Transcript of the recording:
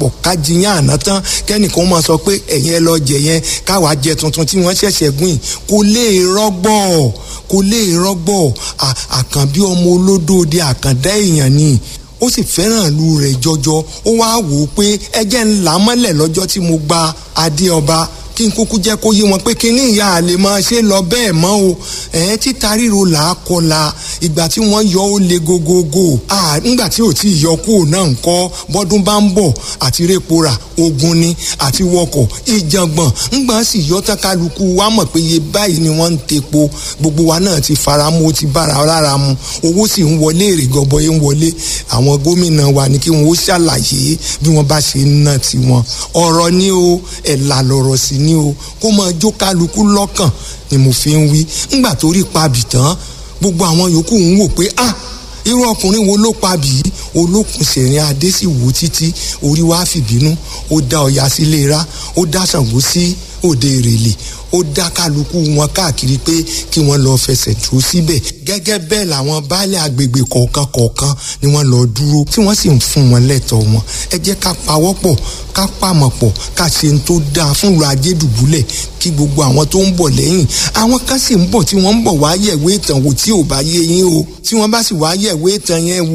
papọ̀ ká jiyàn àná tán, kẹ́nìkan máa sọ pé ẹ̀yin ẹ lọ jẹ yẹn, káwa jẹ tuntun tí wọ́n ṣẹ̀ṣẹ̀ gùn yìí. Kò lè rọ́gbọ̀, kò lè rọ́gbọ̀. Àkànbí ọmọ olódòde, àkàndá èèyàn ni, ó sì fẹ́ràn ìlú rẹ̀ jọjọ. Ó wá wò ó pé ẹjẹ́ ńlá mọ́lẹ̀ lọ́jọ́ tí mo gba adé ọba, kí n kúkú jẹ́ kó yé wọn pé kíní ìyá àlè máa ṣe lọ bẹ́ẹ̀ mọ́ o. Ẹ̀ẹ́n, títa ríro là á kọla. Ìgbà tí wọ́n yọ ó le gogogo. Nígbà tí ò tí ì yọ kúrò náà ń kọ́, bọ́dún bá ń bọ̀ àti répo rà ogun ni, àti wọkọ̀ ìjàngbọ̀n. Ńgbà sì yọ tán, kálukú wa mọ̀ pé iye báyìí ni wọ́n ń tepo. Gbogbo wa náà ti fara mọ́, ó ti bára lára mu, owó sì ń wọlé, èrè gọbọi ń wọlé. Àwọn gómìnà wa ni kí wọ́n ó ṣàlàyé bí wọ́n bá ṣe ń ná tiwọn. Ọ̀rọ̀ ni o, ẹ̀là lọ̀rọ̀ sí ni o, kó máa jó kálukú lọ́kàn ni mo fi ń wí. Ńgbà tó rí pabì tán, gbogbo àwọn yòókù ń wò pé, ah, irú ọkùnrin wo ló pabì yìí? Olókùn sẹ̀rin adé sì wò títí, orí wa fìbínú, ó dá Ọya sílé ra, ó dá Ṣàngó sí òde Ìrèlè, ó dá kálukú wọn káàkiri pé kí wọ́n lọ fẹsẹ̀ dúró síbẹ̀. Gẹ́gẹ́ bẹ́ẹ̀ làwọn baálé agbègbè kọ̀ọ̀kan kọ̀ọ̀kan ni wọ́n lọ dúró, tí wọ́n sì ń fún wọn lẹ́tọ̀ọ́ wọn. Ẹ jẹ́ ká pawọ́pọ̀, ká pàmọ̀ pọ̀, ká ṣe ń tó dáa fún ìlú Ajédùbúlẹ̀, kí gbogbo àwọn tó ń bọ̀ lẹ́yìn, àwọn kan sì ń bọ̀ tí wọ́n ń bọ̀ wá yẹ̀wé ìtàn wò tí ò bá yé yín o, tí wọ́n bá sì wá yẹ̀wé ìtàn yẹn wò.